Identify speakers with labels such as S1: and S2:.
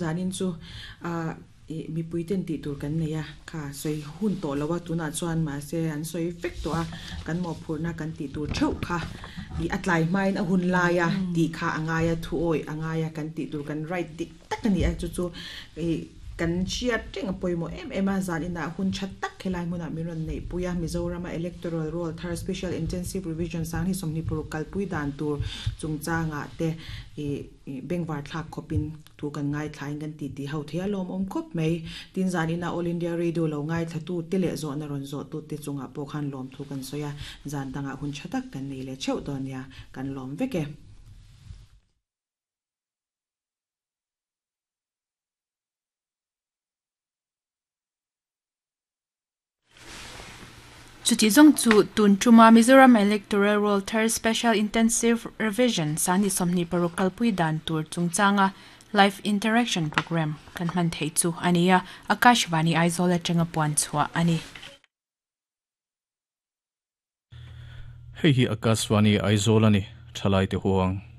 S1: Zanin chu ah ih mipui ten tih tur kan nei a, kha sawi hun tawh lo a, tunah chuan mahse an sawi vek tawh a, kan mawhphurhna kan tih tur theuh kha ih a tlai hmain a hun lai a tih kha a ngai a, thu awih a ngai a, kan tih tur kan right dik tak a ni a, chu chu ih kan hriat reng a pawimawh em em a, zan inah hun tha tak helai hmunah min rawn neihpui a, Mizorama Electoral Roll thar Special Intensive Revision Sanghni 26 kalpui dan tur chungchangah te ih bengvar thlak khawpin Thu kan ngaithlain kan titi ho thei a lawmawm khawp mai. Tin zan ina All India Radio lo ngaithlatu te leh zawhna rawn zawhtu te chungah pawh khan lawmthu kan sawi a, zan dangah hun tha tak kan nei leh theuh dawn nia, kan lawm vek e.
S2: Chuti zawng chu tun tuma Mizoram Electoral Roll thar Special Intensive Revision sangni 26 kalpui dan tur chungchanga Live Interaction Programme kan hman theih chu a ni a, Akashvani Aizawl atanga puan chhuah a ni.
S3: Hei hi Akashvani Aizawl a ni, Thalaite huang.